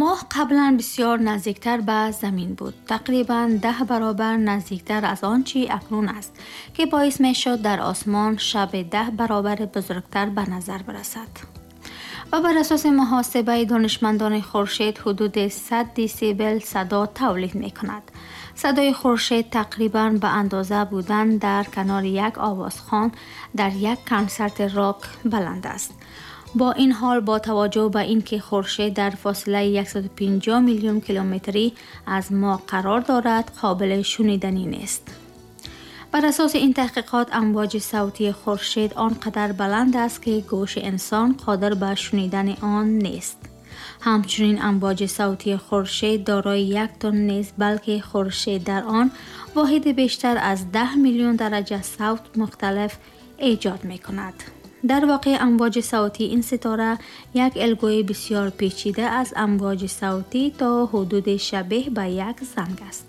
Моҳ қаблан бисёр наздиктар ба Замин буд, тақрибан 10 баробар наздиктар аз он чи акнун аст, ки боис мешуд дар осмон шаб 10 баробар бузургтар ба назар бирасад. Ва бар асоси муҳосибаи донишмандони Хуршед ҳудуди 100 десибел садо тавлид мекунад. Садои Хуршед тақрибан ба андоза будан дар канори як овозхон дар як консерти рок баланд аст. Бо ин ҳол, бо таваҷҷӯҳ ба ин ки Хуршед дар фосилаи 150 миллион километрӣ аз мо қарор дорад, қобили шуниданӣ нест. Бар асоси ин таҳқиқот, амвоҷи савтии Хуршед он қадар баланд аст, ки гӯши инсон қодир ба шунидани он нест. Ҳамчунин амвоҷи савтии Хуршед дорои як тон нест, балки Хуршед дар он воҳиди бештар аз 10 миллион дараҷа савт мухталиф эҷод мекунад. Дар воқеъ, амвоҷи савтии ин ситора як элгӯи бисёр печида аз амвоҷи савтӣ то ҳудуди шабеҳ ба як занг аст.